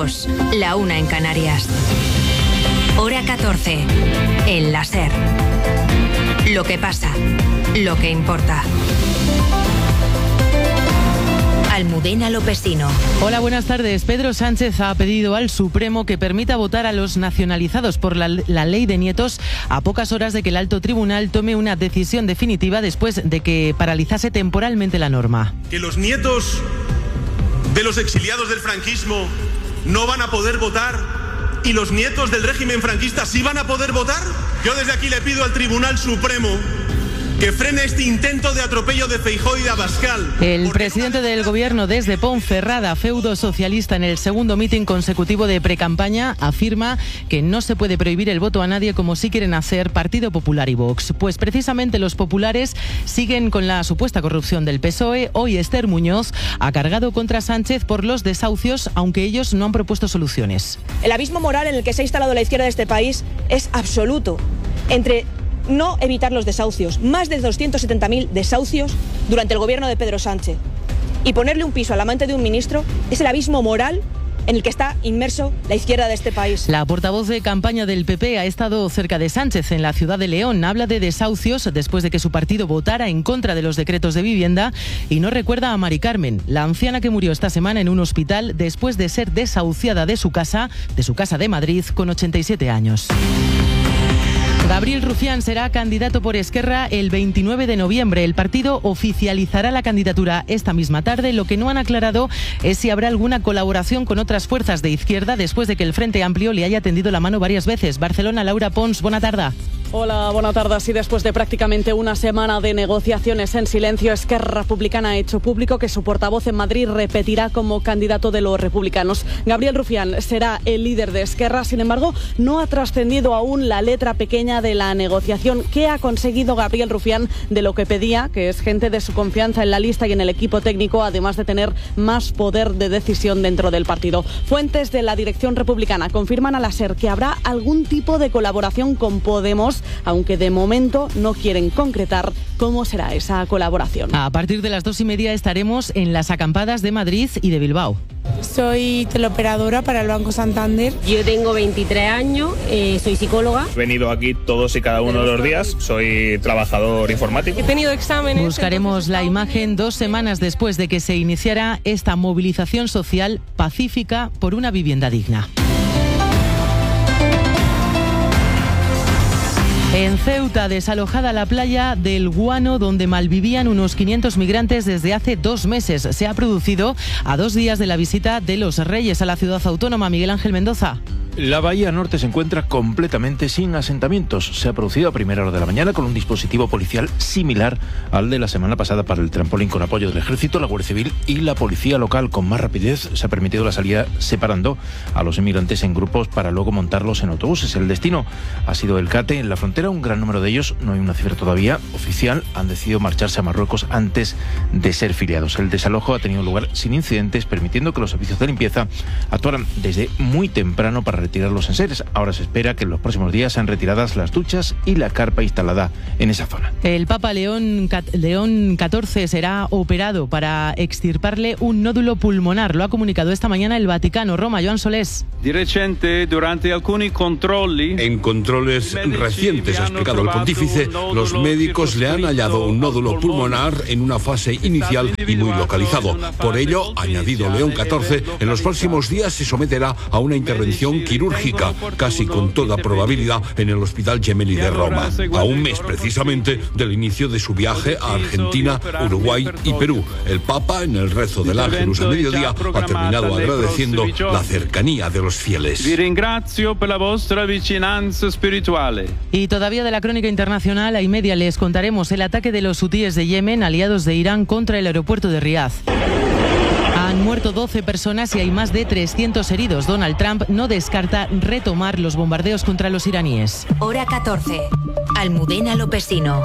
2, la 1 en Canarias. Hora 14, en la SER. Lo que pasa, lo que importa. Almudena Lopesino. Hola, buenas tardes. Pedro Sánchez ha pedido al Supremo que permita votar a los nacionalizados por la ley de nietos a pocas horas de que el alto tribunal tome una decisión definitiva después de que paralizase temporalmente la norma. Que los nietos de los exiliados del franquismo no van a poder votar y los nietos del régimen franquista sí van a poder votar. Yo desde aquí le pido al Tribunal Supremo que frene este intento de atropello de Feijóo y de Abascal. El presidente del gobierno desde Ponferrada, feudo socialista, en el segundo mitin consecutivo de precampaña, afirma que no se puede prohibir el voto a nadie como sí quieren hacer Partido Popular y Vox. Pues precisamente los populares siguen con la supuesta corrupción del PSOE. Hoy Esther Muñoz ha cargado contra Sánchez por los desahucios, aunque ellos no han propuesto soluciones. El abismo moral en el que se ha instalado la izquierda de este país es absoluto. Entre no evitar los desahucios, más de 270.000 desahucios durante el gobierno de Pedro Sánchez, y ponerle un piso al amante de un ministro, es el abismo moral en el que está inmerso la izquierda de este país. La portavoz de campaña del PP ha estado cerca de Sánchez en la ciudad de León. Habla de desahucios después de que su partido votara en contra de los decretos de vivienda y no recuerda a Mari Carmen, la anciana que murió esta semana en un hospital después de ser desahuciada de su casa de Madrid con 87 años. Gabriel Rufián será candidato por Esquerra el 29 de noviembre. El partido oficializará la candidatura esta misma tarde. Lo que no han aclarado es si habrá alguna colaboración con otras fuerzas de izquierda después de que el Frente Amplio le haya tendido la mano varias veces. Barcelona, Laura Pons, buena tarde. Hola, buena tarde. Sí, después de prácticamente una semana de negociaciones en silencio, Esquerra Republicana ha hecho público que su portavoz en Madrid repetirá como candidato de los republicanos. Gabriel Rufián será el líder de Esquerra, sin embargo, no ha trascendido aún la letra pequeña de la negociación. ¿Qué ha conseguido Gabriel Rufián de lo que pedía, que es gente de su confianza en la lista y en el equipo técnico, además de tener más poder de decisión dentro del partido? Fuentes de la dirección republicana confirman a la SER que habrá algún tipo de colaboración con Podemos, aunque de momento no quieren concretar cómo será esa colaboración. A partir de las 2:30 estaremos en las acampadas de Madrid y de Bilbao. Soy teleoperadora para el Banco Santander. Yo tengo 23 años, soy psicóloga. He venido aquí todos y cada uno de los días, soy trabajador informático. He tenido exámenes. Buscaremos la imagen 2 semanas después de que se iniciara esta movilización social pacífica por una vivienda digna. En Ceuta, desalojada la playa del Guano, donde malvivían unos 500 migrantes desde hace 2 meses. Se ha producido a 2 días de la visita de los Reyes a la ciudad autónoma. Miguel Ángel Mendoza. La bahía norte se encuentra completamente sin asentamientos. Se ha producido a primera hora de la mañana con un dispositivo policial similar al de la semana pasada para el trampolín, con apoyo del Ejército, la Guardia Civil y la Policía Local. Con más rapidez se ha permitido la salida separando a los inmigrantes en grupos para luego montarlos en autobuses. El destino ha sido el Cate. En la frontera, un gran número de ellos, no hay una cifra todavía oficial, han decidido marcharse a Marruecos antes de ser filiados. El desalojo ha tenido lugar sin incidentes, permitiendo que los servicios de limpieza actuaran desde muy temprano para retirar los enseres. Ahora se espera que en los próximos días sean retiradas las duchas y la carpa instalada en esa zona. El Papa León XIV será operado para extirparle un nódulo pulmonar. Lo ha comunicado esta mañana el Vaticano. Roma, Joan Solés. En controles recientes, ha explicado el pontífice, los médicos le han hallado un nódulo pulmonar en una fase inicial y muy localizado. Por ello, ha añadido León XIV, en los próximos días se someterá a una intervención quirúrgica, casi con toda probabilidad en el Hospital Gemelli de Roma, a un mes precisamente del inicio de su viaje a Argentina, Uruguay y Perú. El Papa, en el rezo del Ángelus a mediodía, ha terminado agradeciendo la cercanía de los fieles. Y todavía de la crónica internacional, a y media les contaremos el ataque de los hutíes de Yemen, aliados de Irán, contra el aeropuerto de Riad. Han muerto 12 personas y hay más de 300 heridos. Donald Trump no descarta retomar los bombardeos contra los iraníes. Hora 14. Almudena Lopesino.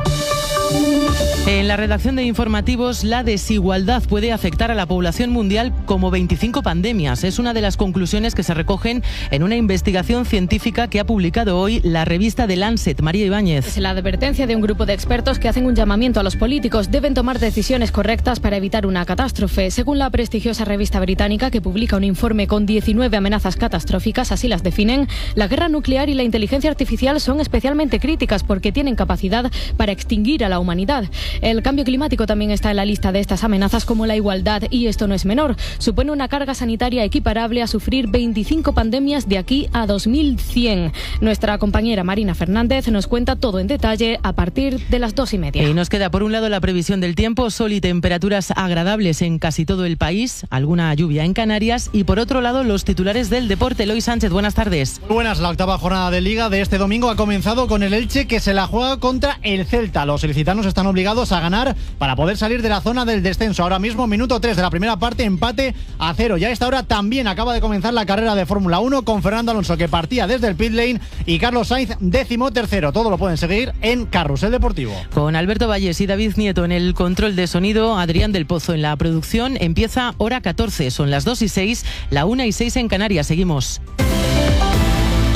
En la redacción de informativos, la desigualdad puede afectar a la población mundial como 25 pandemias. Es una de las conclusiones que se recogen en una investigación científica que ha publicado hoy la revista The Lancet. María Ibáñez. Es la advertencia de un grupo de expertos que hacen un llamamiento a los políticos. Deben tomar decisiones correctas para evitar una catástrofe. Según la prestigiosa revista británica, que publica un informe con 19 amenazas catastróficas, así las definen, la guerra nuclear y la inteligencia artificial son especialmente críticas porque tienen capacidad para extinguir a la humanidad. El cambio climático también está en la lista de estas amenazas, como la igualdad, y esto no es menor. Supone una carga sanitaria equiparable a sufrir 25 pandemias de aquí a 2100. Nuestra compañera Marina Fernández nos cuenta todo en detalle a partir de las 2:30. Y nos queda por un lado la previsión del tiempo, sol y temperaturas agradables en casi todo el país, alguna lluvia en Canarias, y por otro lado los titulares del deporte. Eloy Sánchez, buenas tardes. Muy buenas, la octava jornada de Liga de este domingo ha comenzado con el Elche, que se la juega contra el Celta. Los ilicitanos están obligados a ganar para poder salir de la zona del descenso. Ahora mismo, minuto 3 de la primera parte, empate a 0. Ya a esta hora también acaba de comenzar la carrera de Fórmula 1 con Fernando Alonso, que partía desde el pit lane, y Carlos Sainz, 13º. Todo lo pueden seguir en Carrusel Deportivo. Con Alberto Valles y David Nieto en el control de sonido, Adrián del Pozo en la producción. Empieza hora 14, son las 2:06, la 1:06 en Canarias. Seguimos.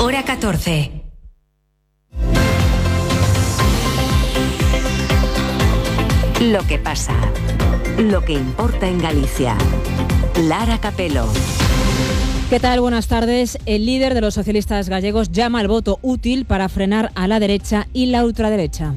Hora 14. Lo que pasa, lo que importa en Galicia. Lara Capelo. ¿Qué tal? Buenas tardes. El líder de los socialistas gallegos llama al voto útil para frenar a la derecha y la ultraderecha.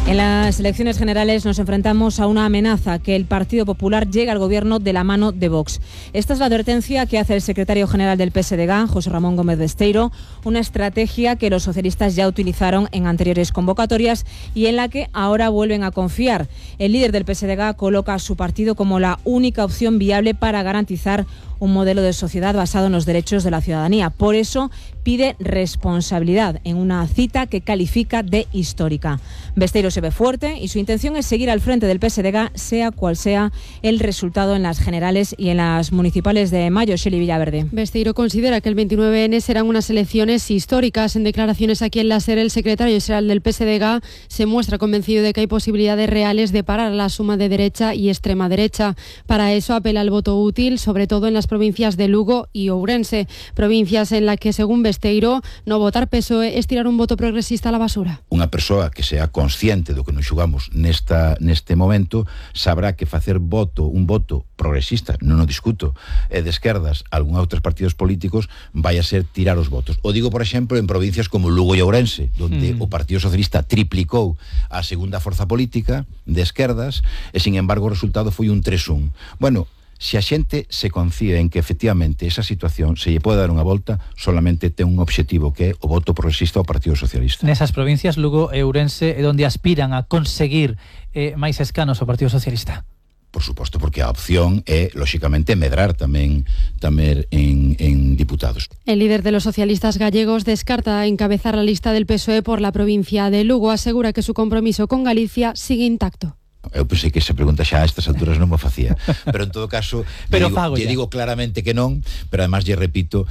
En las elecciones generales nos enfrentamos a una amenaza: que el Partido Popular llegue al gobierno de la mano de Vox. Esta es la advertencia que hace el secretario general del PSDG, José Ramón Gómez Besteiro, una estrategia que los socialistas ya utilizaron en anteriores convocatorias y en la que ahora vuelven a confiar. El líder del PSDG coloca a su partido como la única opción viable para garantizar un modelo de sociedad basado en los derechos de la ciudadanía. Por eso pide responsabilidad en una cita que califica de histórica. Besteiro se ve fuerte y su intención es seguir al frente del PSDG, sea cual sea el resultado en las generales y en las municipales de mayo. Shelley Villaverde. Besteiro considera que el 29N serán unas elecciones históricas. En declaraciones aquí en la SER, el secretario general del PSDG se muestra convencido de que hay posibilidades reales de parar la suma de derecha y extrema derecha. Para eso apela al voto útil, sobre todo en las provincias de Lugo y Ourense, provincias en las que, según Besteiro, no votar PSOE es tirar un voto progresista a la basura. Unha persoa que sea consciente do que nos xugamos neste momento sabrá que facer un voto progresista, non o discuto, de esquerdas a algún outros partidos políticos vai a ser tirar os votos. O digo, por exemplo, en provincias como Lugo e Ourense, onde o Partido Socialista triplicou a segunda forza política de esquerdas e, sin embargo, o resultado foi un 3-1. Bueno, se a xente se confía en que efectivamente esa situación se lle pode dar unha volta, solamente ten un obxectivo, que é o voto progresista ao Partido Socialista. Nesas provincias, Lugo e Ourense, é onde aspiran a conseguir máis escanos ao Partido Socialista. Por suposto, porque a opción é, lóxicamente, medrar tamén en diputados. El líder de los socialistas gallegos descarta encabezar la lista del PSOE por la provincia de Lugo. Asegura que su compromiso con Galicia sigue intacto. Eu pensei que esa pregunta xa a estas alturas non me facía, pero en todo caso lle digo claramente que non, pero además lle repito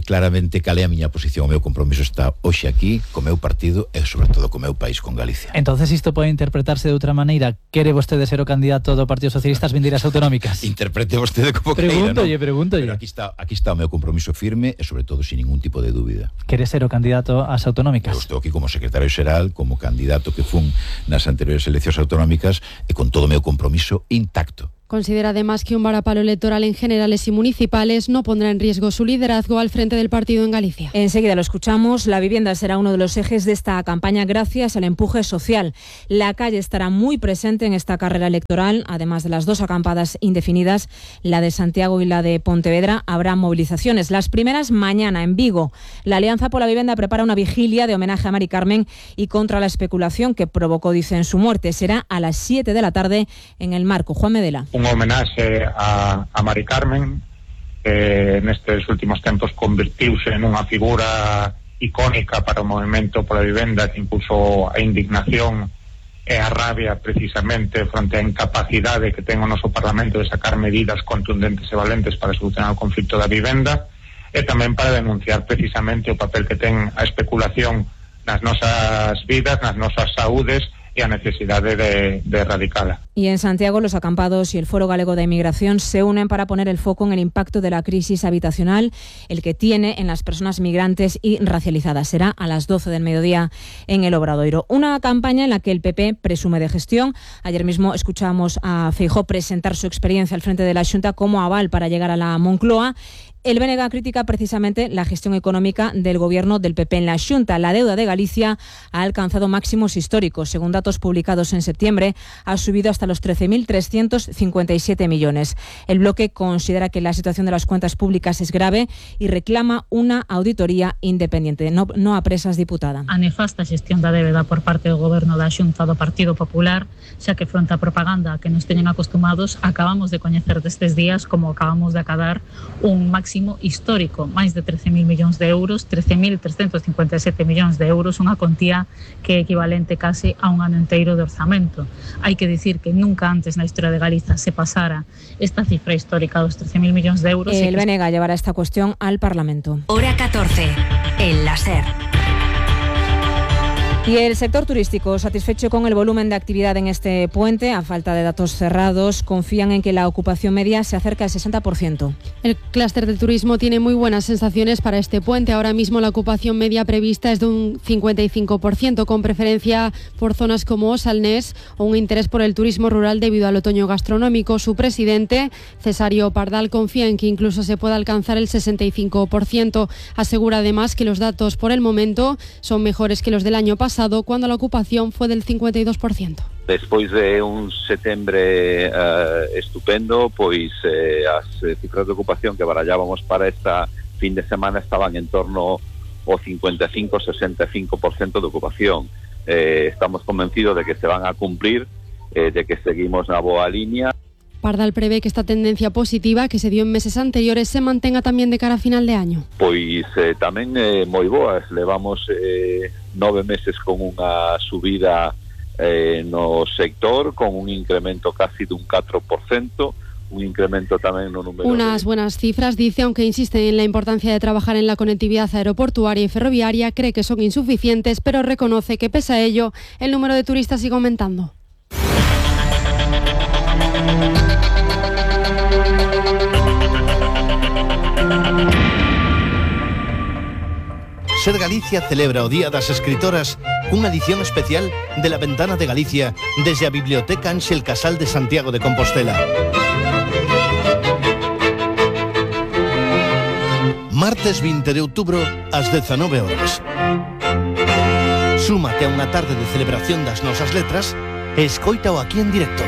claramente cal é a miña posición. O meu compromiso está hoxe aquí co meu partido e sobre todo co meu país, con Galicia. Entonces isto pode interpretarse de outra maneira. Quere vostede ser o candidato do Partido Socialista ás vindeiras autonómicas? Interprete vostede como queira, non? Pregúntolle. Pero aquí está o meu compromiso firme e sobre todo sin ningún tipo de dúbida. Quere ser o candidato ás autonómicas? Eu estou aquí como secretario xeral, como candidato que fun nas anteriores eleccións autonómicas e con todo o meu compromiso intacto. Considera además que un varapalo electoral en generales y municipales no pondrá en riesgo su liderazgo al frente del partido en Galicia. Enseguida lo escuchamos. La vivienda será uno de los ejes de esta campaña gracias al empuje social. La calle estará muy presente en esta carrera electoral. Además de las dos acampadas indefinidas, la de Santiago y la de Pontevedra, habrá movilizaciones. Las primeras mañana en Vigo. La Alianza por la Vivienda prepara una vigilia de homenaje a Mari Carmen y contra la especulación que provocó, dicen, su muerte. Será a las 7 de la tarde en el Marco. Juan Medela. Un homenaxe a Mari Carmen, que nestes últimos tempos convertiuse en unha figura icónica para o movimento pola vivenda, que impulsou a indignación e a rabia precisamente fronte á incapacidade que ten o noso Parlamento de sacar medidas contundentes e valentes para solucionar o conflito da vivenda, e tamén para denunciar precisamente o papel que ten a especulación nas nosas vidas, nas nosas saúdes e a necesidade de erradicala. Y en Santiago, los acampados y el Foro Galego de Inmigración se unen para poner el foco en el impacto de la crisis habitacional, el que tiene en las personas migrantes y racializadas. Será a las 12 del mediodía en el Obradoiro. Una campaña en la que el PP presume de gestión. Ayer mismo escuchamos a Feijóo presentar su experiencia al frente de la Xunta como aval para llegar a la Moncloa. El BNG critica precisamente la gestión económica del gobierno del PP en la Xunta. La deuda de Galicia ha alcanzado máximos históricos. Según datos publicados en septiembre, ha subido hasta los 13.357 millones. El bloque considera que la situación de las cuentas públicas es grave y reclama una auditoría independiente. No apresas, diputada. A nefasta xestión da débeda por parte do goberno da Xunta do Partido Popular, xa que fronte á propaganda que nos teñen acostumados, acabamos de coñecer destes días como acabamos de acadar un máximo histórico, máis de 13.000 millóns de euros, 13.357 millóns de euros, unha contía que é equivalente case a un ano inteiro de orzamento. Hai que dicir que nunca antes na historia de Galiza se pasara esta cifra histórica dos 13.000 millóns de euros. El BNG llevará esta cuestión al Parlamento. Hora 14, en la SER. Y el sector turístico, satisfecho con el volumen de actividad en este puente, a falta de datos cerrados, confían en que la ocupación media se acerque al 60%. El clúster del turismo tiene muy buenas sensaciones para este puente. Ahora mismo la ocupación media prevista es de un 55%, con preferencia por zonas como Osalnés o un interés por el turismo rural debido al otoño gastronómico. Su presidente, Cesario Pardal, confía en que incluso se pueda alcanzar el 65%. Asegura además que los datos por el momento son mejores que los del año pasado, cuando la ocupación fue del 52%. Despois de un setembro estupendo, pois as cifras de ocupación que barallábamos para esta fin de semana estaban en torno ao 55-65% de ocupación. Estamos convencidos de que se van a cumplir, de que seguimos na boa línea. Pardal prevé que esta tendencia positiva que se dio en meses anteriores se mantenga tamén de cara a final de año. Pois tamén moi boas, levamos 9 meses con unha subida no sector, con un incremento casi dun 4%, un incremento tamén no número. Unas buenas cifras, dice, aunque insiste en la importancia de trabajar en la conectividad aeroportuaria y ferroviaria, cree que son insuficientes, pero reconoce que pese a ello, el número de turistas sigue aumentando. Ser Galicia celebra o Día das Escritoras cunha edición especial de La Ventana de Galicia desde a Biblioteca Ángel Casal de Santiago de Compostela. Martes 20 de outubro ás 19 horas. Súmate a unha tarde de celebración das nosas letras e escoítao aquí en directo.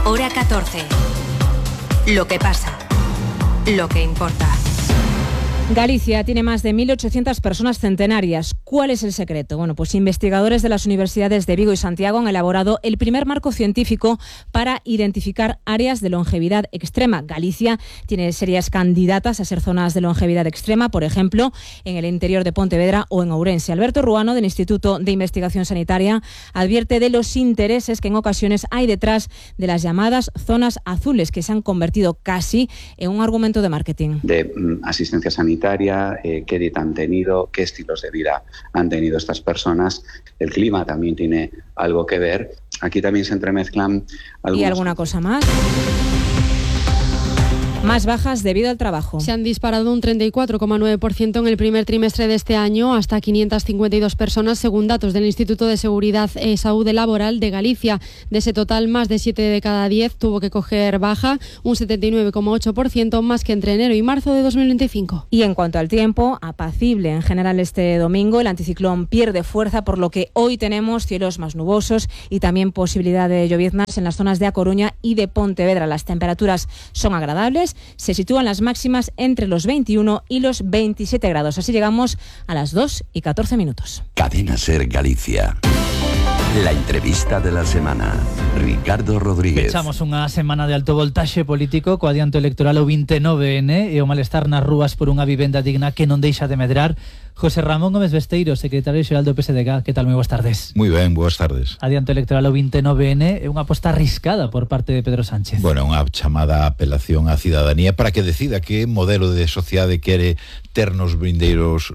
Hora 14. Lo que pasa. Lo que importa. Galicia tiene más de 1.800 personas centenarias. ¿Cuál es el secreto? Bueno, pues investigadores de las universidades de Vigo y Santiago han elaborado el primer marco científico para identificar áreas de longevidad extrema. Galicia tiene serias candidatas a ser zonas de longevidad extrema, por ejemplo, en el interior de Pontevedra o en Ourense. Alberto Ruano, del Instituto de Investigación Sanitaria, advierte de los intereses que en ocasiones hay detrás de las llamadas zonas azules, que se han convertido casi en un argumento de marketing. De asistencia sanitaria, qué dieta han tenido, qué estilos de vida han tenido estas personas. El clima también tiene algo que ver. Aquí también se entremezclan algunos... ¿Y alguna cosa más? Más bajas debido al trabajo. Se han disparado un 34,9% en el primer trimestre de este año, hasta 552 personas, según datos del Instituto de Seguridad y Salud Laboral de Galicia. De ese total, más de 7 de cada 10 tuvo que coger baja, un 79,8%, más que entre enero y marzo de 2025. Y en cuanto al tiempo, apacible en general este domingo. El anticiclón pierde fuerza, por lo que hoy tenemos cielos más nubosos y también posibilidad de lloviznas en las zonas de A Coruña y de Pontevedra. Las temperaturas son agradables. Se sitúan las máximas entre los 21 y los 27 grados. Así llegamos a las 2:14. Cadena SER Galicia. La entrevista de la semana. Ricardo Rodríguez. Pechamos unha semana de alto voltaxe político co adianto electoral o 29N e o malestar nas rúas por unha vivenda digna que non deixa de medrar. José Ramón Gómez Besteiro, secretario xeral do PSDG, que tal? Moi boas tardes. Moi ben, boas tardes. Adianto electoral o 29N é unha aposta arriscada por parte de Pedro Sánchez. Bueno, unha chamada apelación á cidadanía para que decida que modelo de sociedade quere ter nos vindeiros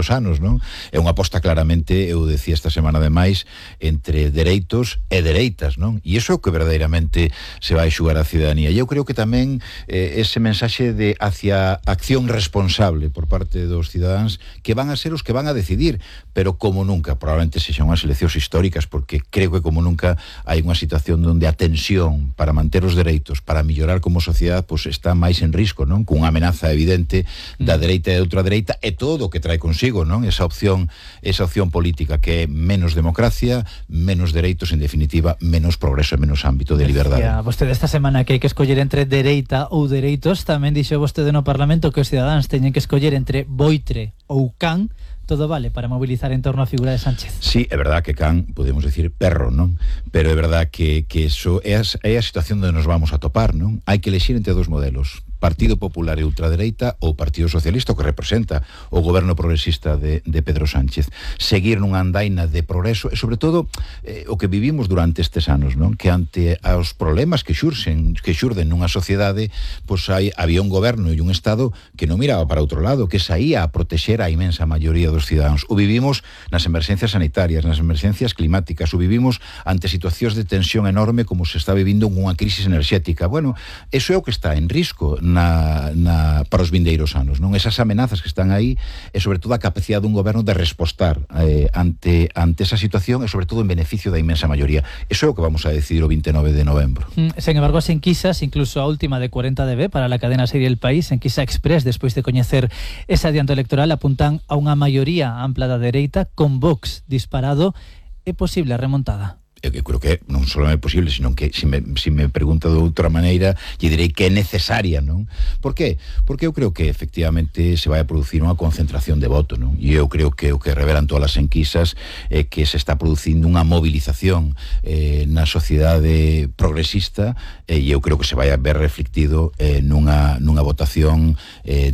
anos, non? É unha aposta claramente, eu decía esta semana ademais, entre dereitos e dereitas, non? E iso é o que verdadeiramente se vai xugar a cidadanía. E eu creo que tamén ese mensaxe de hacia acción responsable por parte dos cidadáns que van a ser os que van a decidir, pero como nunca, probablemente sexan unhas eleccións históricas, porque creo que como nunca hai unha situación onde a tensión para manter os dereitos, para mellorar como sociedade, pois está máis en risco, non? Cunha amenaza evidente da dereita e da ultradereita e todo o que trae consigo, non? Esa opción política que é menos democracia, menos dereitos, en definitiva, menos progreso e menos ámbito de liberdade. Vostede esta semana que hai que escoller entre dereita ou dereitos, tamén dixo vostede no Parlamento que os cidadáns teñen que escoller entre Boitre ou Can. Todo vale para movilizar en torno á figura de Sánchez. Sí, é verdad que Can, podemos decir perro, non? Pero é verdad que eso é a situación onde nos vamos a topar, non? Hai que elegir entre dos modelos. Partido Popular e ultradereita ou Partido Socialista, o que representa o goberno progresista de Pedro Sánchez. Seguir nunha andaina de progreso e, sobre todo, o que vivimos durante estes anos, non? Que ante aos problemas que xurden nunha sociedade, pois había un goberno e un Estado que non miraba para outro lado, que saía a protexer a imensa maioría dos cidadáns. O vivimos nas emerxencias sanitarias, nas emerxencias climáticas, o vivimos ante situacións de tensión enorme como se está vivindo unha crisis enerxética. Bueno, eso é o que está en risco para os vindeiros anos, non? Esas amenazas que están aí e sobre todo a capacidade dun goberno de respostar ante esa situación e sobre todo en beneficio da inmensa maioría. Eso é o que vamos a decidir o 29 de novembro. Sen embargo, as enquisas, incluso a última de 40DB para la cadena serie El País, enquisa Express, despois de coñecer ese adianto electoral, apuntan a unha maioría ampla da dereita con Vox disparado. É posible a remontada? Eu creo que non só é posible, sino que se me pregunta de outra maneira, lle direi que é necesaria, non? Por qué? Porque eu creo que efectivamente se vai a producir unha concentración de voto, non? E eu creo que o que revelan todas as enquisas é que se está producindo unha movilización na sociedade progresista e eu creo que se vai a ver reflectido nunha votación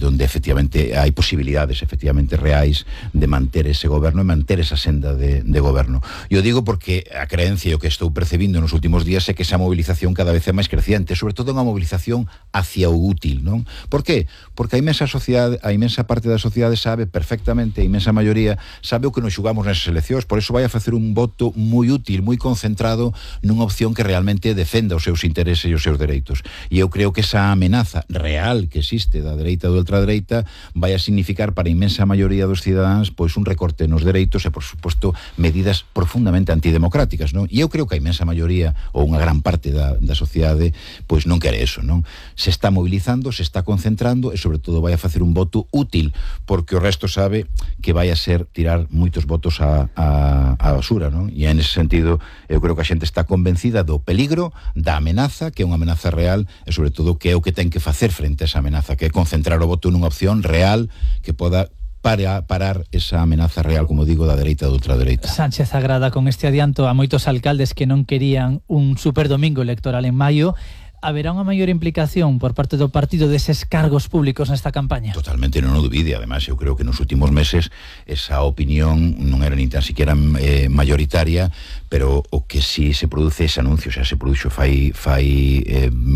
donde efectivamente hai posibilidades efectivamente reais de manter ese goberno e manter esa senda de goberno. Eu digo porque a creencia o que estou percebindo nos últimos días é que esa movilización cada vez é máis creciente, sobre todo unha movilización hacia o útil, non? Por qué? Porque a imensa parte da sociedade sabe perfectamente, a imensa maioría sabe o que nos xugamos nesas eleccións, por eso vai a facer un voto moi útil, moi concentrado nunha opción que realmente defenda os seus intereses e os seus dereitos. E eu creo que esa amenaza real que existe da dereita e da ultradereita vai a significar para a imensa maioría dos cidadáns pois un recorte nos dereitos e, por suposto, medidas profundamente antidemocráticas, non? E eu creo que a imensa maioría ou unha gran parte da sociedade pois non quere eso, non? Se está mobilizando, se está concentrando e sobre todo vai a facer un voto útil, porque o resto sabe que vai a ser tirar moitos votos á basura, non? E en ese sentido eu creo que a xente está convencida do peligro, da amenaza, que é unha amenaza real e sobre todo que é o que ten que facer frente a esa amenaza, que é concentrar o voto nunha opción real que poda parar esa amenaza real, como digo, da dereita e da ultradereita. Sánchez agrada con este adianto a moitos alcaldes que non querían un superdomingo electoral en maio. Haberá unha maior implicación por parte do partido deses cargos públicos nesta campaña? Totalmente, non o dubide. Además, eu creo que nos últimos meses esa opinión non era ni tan siquiera mayoritaria, pero o que si se produce ese anuncio, xa se produxo fai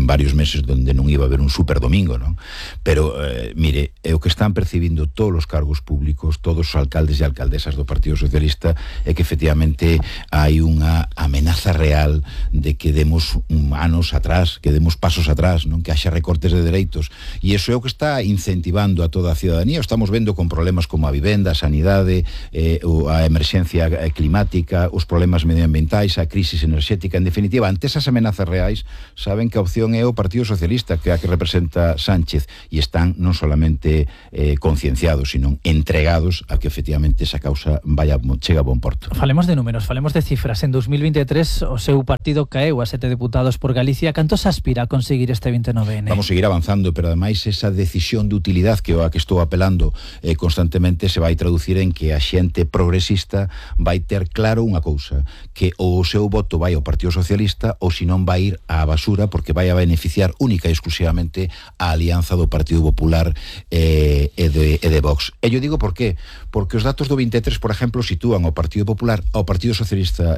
varios meses donde non iba a haber un superdomingo, non? Pero, mire, o que están percibindo todos os cargos públicos, todos os alcaldes e alcaldesas do Partido Socialista, é que efectivamente hai unha amenaza real de que demos anos atrás, que demos pasos atrás, non? Que haxa recortes de dereitos, e iso é o que está incentivando a toda a cidadanía. O estamos vendo con problemas como a vivenda, a sanidade, a emerxencia climática, os problemas medioambientais, a crisis enerxética. En definitiva, ante esas amenazas reais, saben que a opción é o Partido Socialista, que é a que representa Sánchez, e están non solamente concienciados, sino entregados a que efectivamente esa causa chega a bon porto. Falemos de números, falemos de cifras. En 2023 o seu partido caeu a 7 deputados por Galicia. Cantos aspirantes aspira a conseguir este 29N? Vamos a seguir avanzando, pero ademais esa decisión de utilidade que a que estou apelando constantemente se vai traducir en que a xente progresista vai ter claro unha cousa, que ou o seu voto vai ao Partido Socialista ou se non vai ir á basura, porque vai a beneficiar única e exclusivamente a alianza do Partido Popular e de Vox. E yo digo por qué? Porque os datos do 23, por exemplo, sitúan ao Partido Popular, ao Partido Socialista,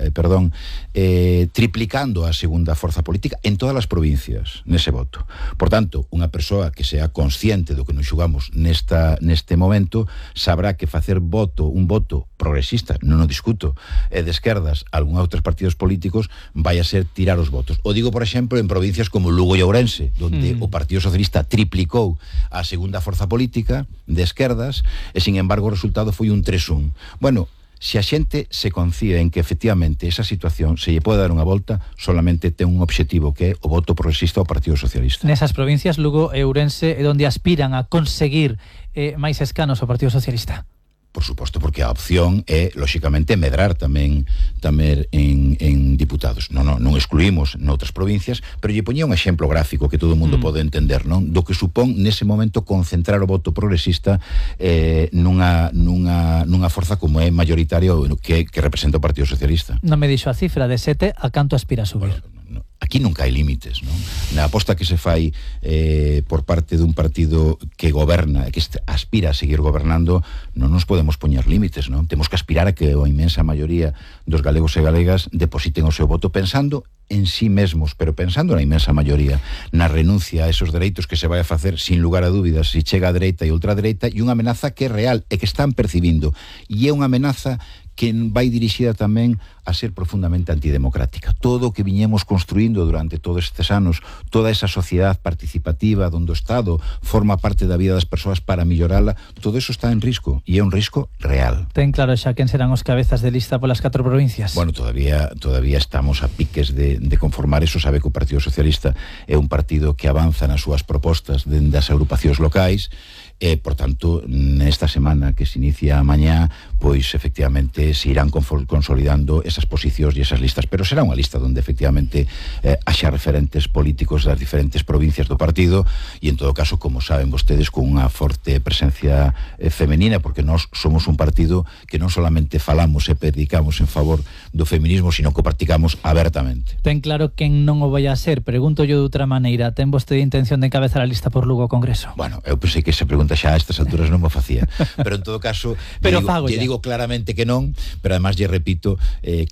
triplicando a segunda forza política en todas as provincias nese voto. Por tanto, unha persoa que sea consciente do que nos xugamos neste momento sabrá que facer un voto progresista, non o discuto, e de esquerdas algún outros partidos políticos vai a ser tirar os votos. O digo, por exemplo, en provincias como Lugo e Ourense, donde o Partido Socialista triplicou a segunda forza política de esquerdas e, sin embargo, o resultado foi un 3-1. Bueno, se a xente se confía en que efectivamente esa situación se lle pode dar unha volta, solamente ten un obxectivo, que é o voto progresista ao Partido Socialista. Nesas provincias, Lugo e Ourense, é onde aspiran a conseguir máis escanos ao Partido Socialista. Por suposto, porque a opción é, lóxicamente, medrar tamén en diputados. Non excluímos noutras provincias, pero lle poñía un exemplo gráfico que todo o mundo pode entender, non? Do que supón nese momento concentrar o voto progresista nunha forza como é mayoritaria que representa o Partido Socialista. Non me dixo a cifra de 7, a canto aspira a subir? Aquí nunca hai límites, non? Na aposta que se fai por parte dun partido que goberna e que aspira a seguir gobernando, non nos podemos poñer límites, non? Temos que aspirar a que a inmensa maioría dos galegos e galegas depositen o seu voto pensando en sí mesmos, pero pensando na inmensa maioría, na renuncia a esos dereitos que se vai a facer sin lugar a dúbidas se chega a dereita e ultradereita, e unha amenaza que é real e que están percibindo, e é unha amenaza que vai dirixida tamén a ser profundamente antidemocrática. Todo o que viñemos construindo durante todos estes anos, toda esa sociedade participativa onde o Estado forma parte da vida das persoas para mellorala, todo eso está en risco, e é un risco real. Ten claro xa quen serán os cabezas de lista polas 4 provincias? Bueno, todavía estamos a piques de conformar eso. Sabe que o Partido Socialista é un partido que avanza nas súas propostas dende as agrupacións locais, e, por tanto, nesta semana que se inicia mañá, pois, efectivamente, se irán consolidando esas posicións e esas listas, pero será unha lista onde, efectivamente, haxa referentes políticos das diferentes provincias do partido, e, en todo caso, como saben vostedes, con unha forte presencia femenina, porque nós somos un partido que non solamente falamos e predicamos en favor do feminismo, sino que o practicamos abertamente. Ten claro quen non o vai a ser. Pregunto yo de outra maneira, ten vostede intención de encabezar a lista por Lugo ao Congreso? Bueno, eu pensei que esa pregunta xa a estas alturas non me facía, pero en todo caso lle digo claramente que non, pero además lle repito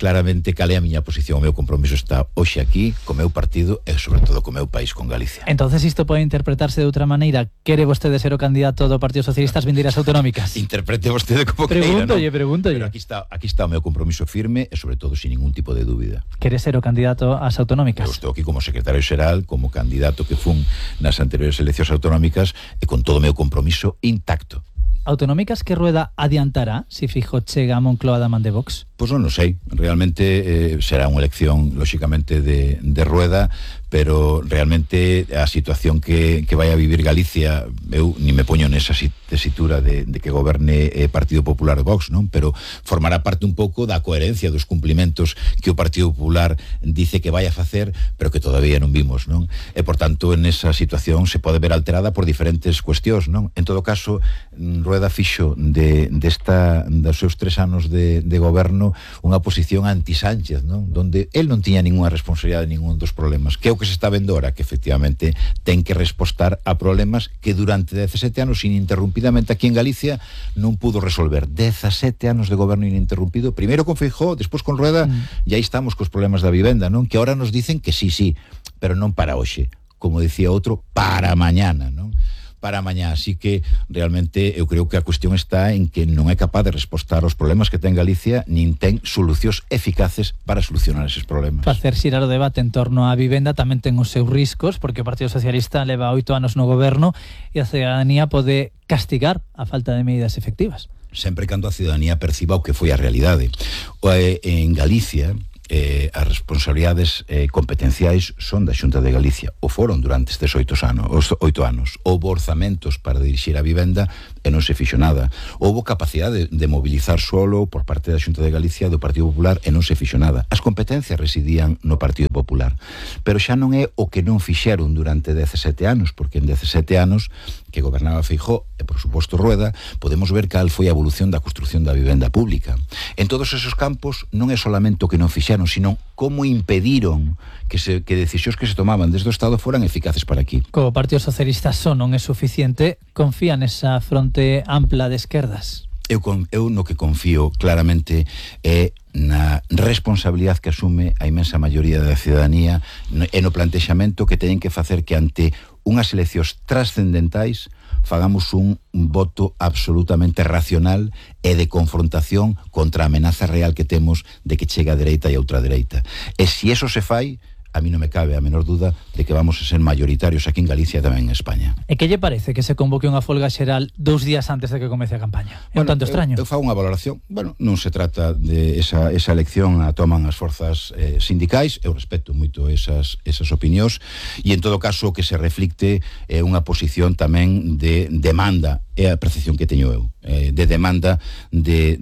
claramente cal é a miña posición. O meu compromiso está hoxe aquí co meu partido e sobre todo co meu país, con Galicia. Entonces isto pode interpretarse de outra maneira. Quere vostede ser o candidato do Partido Socialista ás vindeiras autonómicas? Interprete vostede como queira, non? Pregúntolle. Pero aquí está o meu compromiso firme e sobre todo sin ningún tipo de dúbida. Quere ser o candidato ás autonómicas? Eu estou aquí como secretario xeral, como candidato que fun nas anteriores eleccións autonómicas e con todo o meu compromiso intacto. Autonómicas que Rueda adiantará se Feijóo chega a Moncloa da man de Vox? Pois non o sei, realmente será unha elección lóxicamente de Rueda, pero realmente a situación que vai a vivir Galicia, eu ni me poño nesa tesitura de que goberne Partido Popular Vox, non? Pero formará parte un pouco da coherencia dos cumplimentos que o Partido Popular dice que vai a facer, pero que todavía non vimos, non? E, por tanto, en esa situación se pode ver alterada por diferentes cuestións, non? En todo caso, Rueda fixo dos seus 3 anos de goberno unha posición anti-Sánchez, non? Donde el non tiña ninguna responsabilidade de ningún dos problemas, que é o que se está vendo ahora, que efectivamente ten que respostar a problemas que durante 17 anos ininterrumpidamente aquí en Galicia non pudo resolver. 17 anos de goberno ininterrumpido, primeiro con Feijóo, despois con Rueda, e aí estamos cos problemas da vivenda, non? Que ahora nos dicen que sí, pero non para hoxe, como decía outro, para mañana, non? Para mañá, así que realmente eu creo que a cuestión está en que non é capaz de respostar aos problemas que ten Galicia, nin ten solucións eficaces para solucionar eses problemas. Facer xirar o debate en torno á vivenda tamén ten os seus riscos, porque o Partido Socialista leva 8 anos no goberno e a ciudadanía pode castigar a falta de medidas efectivas. Sempre cando a ciudadanía perciba o que foi a realidade. En Galicia, as responsabilidades competenciais son da Xunta de Galicia, o foron durante estes 8 anos. Houbo orzamentos para dirixir a vivenda e non se fixo nada. Houbo capacidade de mobilizar solo por parte da Xunta de Galicia do Partido Popular e non se fixo nada. As competencias residían no Partido Popular, pero xa non é o que non fixeron durante 17 anos, porque en 17 anos que gobernaba Feijóo e por suposto Rueda, podemos ver cal foi a evolución da construción da vivenda pública. En todos esos campos non é solamente o que non fixeron, sino como impediron que decisións que se tomaban desde o Estado foran eficaces para aquí. Co Partido Socialista só non é suficiente, confía nesa fronte ampla de esquerdas? Eu no que confío claramente é na responsabilidade que asume a inmensa maioría da ciudadanía e no plantexamento que teñen que facer que ante unhas eleccións trascendentais fagamos un voto absolutamente racional e de confrontación contra a amenaza real que temos de que chegue a dereita e a ultradereita. E se eso se fai, a mí non me cabe a menor duda de que vamos a ser mayoritarios aquí en Galicia e tamén en España. E que lle parece que se convoque unha folga xeral 2 días antes de que comece a campaña? É un tanto extraño. Eu fago unha valoración. Bueno, non se trata de esa elección a toman as forzas sindicais. Eu respeto moito esas opinións e en todo caso que se reflicte unha posición tamén de demanda, é a percepción que teño eu, de demanda de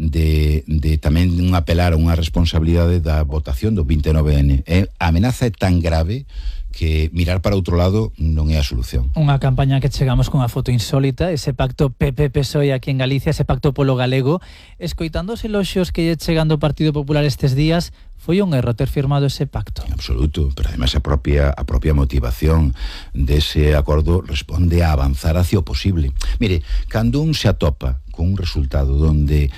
tamén un apelar a unha responsabilidade da votación do 29N. A amenaza é tan grave que mirar para outro lado non é a solución. Unha campaña que chegamos con a foto insólita, ese pacto PP-PSOE aquí en Galicia, ese pacto polo galego, escoitando os eloxios que lle chegando o Partido Popular estes días, foi un erro ter firmado ese pacto. En absoluto, pero además a propia motivación dese acordo responde a avanzar hacia o posible. Mire, cando un se atopa con un resultado donde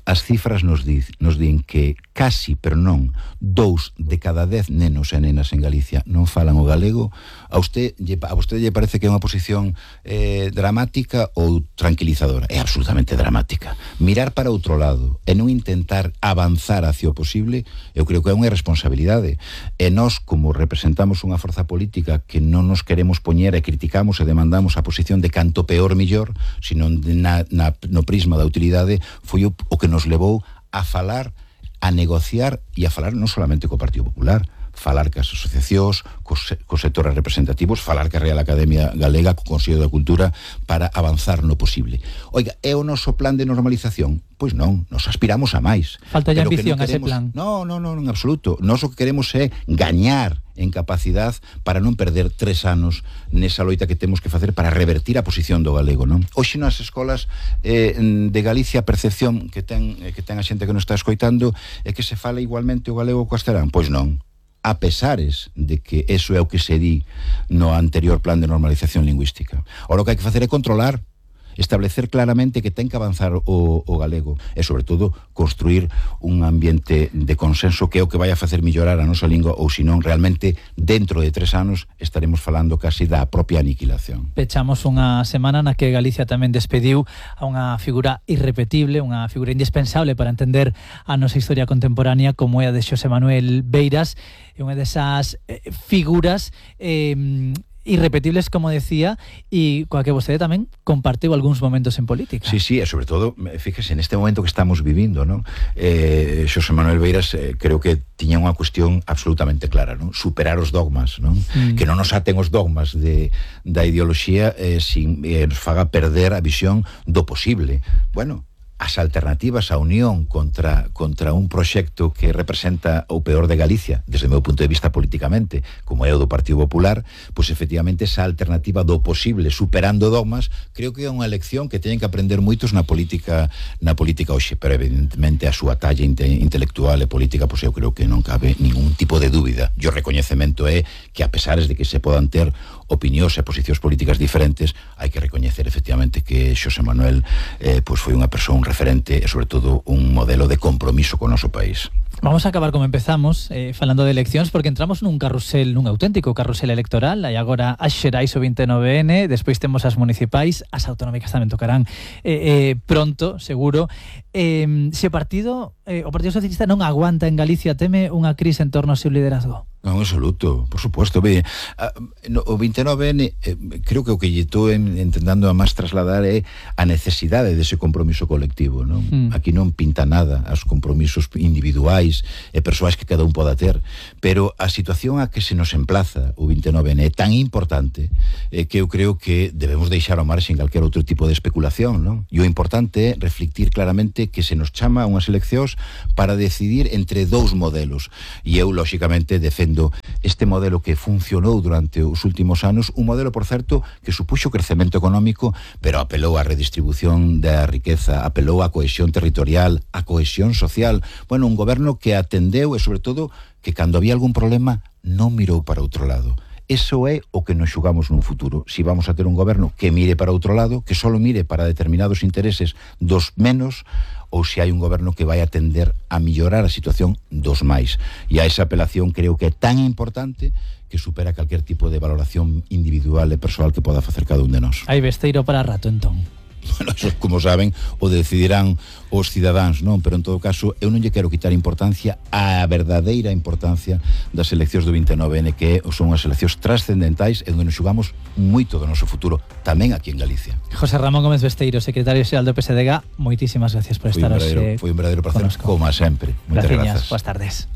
as cifras nos din que casi, pero non, 2 de cada 10 nenos e nenas en Galicia non falan o galego, a vostede lle parece que é unha posición dramática ou tranquilizadora? É absolutamente dramática. Mirar para outro lado e non intentar avanzar hacia o posible, eu creo que é unha irresponsabilidade. E nós, como representamos unha forza política que non nos queremos poñer e criticamos e demandamos a posición de canto peor millor, sino no prisma da utilidade, foi o que nos levou a falar, a negociar e a falar non solamente co Partido Popular, falar cas asociacións, cos sectores representativos, falar ca Real Academia Galega, co Consello da Cultura, para avanzar no posible. Oiga, é o noso plan de normalización? Pois non, nos aspiramos a máis. Falta de ambición a ese plan. Non, en absoluto. Nós o que queremos é gañar en capacidade para non perder 3 anos nesa loita que temos que facer para revertir a posición do galego, non? Hoxe nas escolas de Galicia a percepción que ten a xente que nos está escoitando é que se fala igualmente o galego co castelán. Pois non. A pesares de que eso é o que se di no anterior plan de normalización lingüística. Ora o que hai que facer é controlar, establecer claramente que ten que avanzar o galego e, sobre todo, construir un ambiente de consenso que é o que vai a facer mellorar a nosa lingua, ou senón, realmente, dentro de 3 anos estaremos falando casi da propia aniquilación. Pechamos unha semana na que Galicia tamén despediu a unha figura irrepetible, unha figura indispensable para entender a nosa historia contemporánea, como é a de Xosé Manuel Beiras, e unha desas figuras irrepetibles, como decía, e coa que vostede tamén compartiu algúns momentos en política. Sí, e sobre todo, fíjese, en este momento que estamos vivindo, ¿no? Xosé Manuel Beiras creo que tiña unha cuestión absolutamente clara, ¿no? Superar os dogmas, ¿no? Que non nos aten os dogmas da ideoloxía sin nos faga perder a visión do posible. Bueno, as alternativas á unión contra un proxecto que representa o peor de Galicia, desde o meu punto de vista políticamente, como é o do Partido Popular, pois efectivamente esa alternativa do posible, superando dogmas, creo que é unha lección que teñen que aprender moitos na política hoxe, pero evidentemente a súa talla intelectual e política, pois eu creo que non cabe ningún tipo de dúbida. E o recoñecemento é que, a pesares de que se podan ter opinións e posicións políticas diferentes, hai que recoñecer efectivamente que Xosé Manuel pois foi unha persoa, un referente e sobre todo un modelo de compromiso con o noso país. Vamos a acabar como empezamos, falando de eleccións, porque entramos nun auténtico carrusel electoral. Hai agora as xerais o 29N, despois temos as municipais, as autonómicas tamén tocarán pronto, seguro. Se o Partido Socialista non aguanta en Galicia, teme unha crise en torno ao seu liderazgo? Non, en absoluto, por suposto. Ve, o 29N, creo que o que lle estou intentando a máis trasladar é a necesidade dese compromiso colectivo, non? Aquí non pinta nada aos compromisos individuais e persoais que cada un poda ter, pero a situación a que se nos emplaza o 29N é tan importante que eu creo que debemos deixar ao marxen calquer outro tipo de especulación, non? E o importante é reflectir claramente que se nos chama a unhas eleccións para decidir entre dous modelos, e eu, lóxicamente, defendo este modelo que funcionou durante os últimos anos, un modelo, por certo, que supuxo crecemento económico, pero apelou á redistribución da riqueza, apelou á cohesión territorial, á cohesión social. Bueno, un goberno que atendeu e, sobre todo, que cando había algún problema non mirou para outro lado. Eso é o que nos xugamos nun futuro. Si vamos a ter un goberno que mire para outro lado, que só mire para determinados intereses dos menos, ou se hai un goberno que vai atender a mellorar a situación dos máis. E a esa apelación creo que é tan importante que supera calquer tipo de valoración individual e persoal que poda facer cada un de nós. Hai Besteiro para rato, entón. Bueno, eso, como saben, o decidirán os cidadáns, non? Pero en todo caso, eu non lle quero quitar importancia á verdadeira importancia das eleccións do 29N, que son as eleccións trascendentais e onde nos xugamos moito do noso futuro, tamén aquí en Galicia. José Ramón Gómez Besteiro, secretario xeral do PSDG, moitísimas gracias por estar hoxe. Foi un verdadeiro placer, como sempre. Moitas grazas. Boas tardes.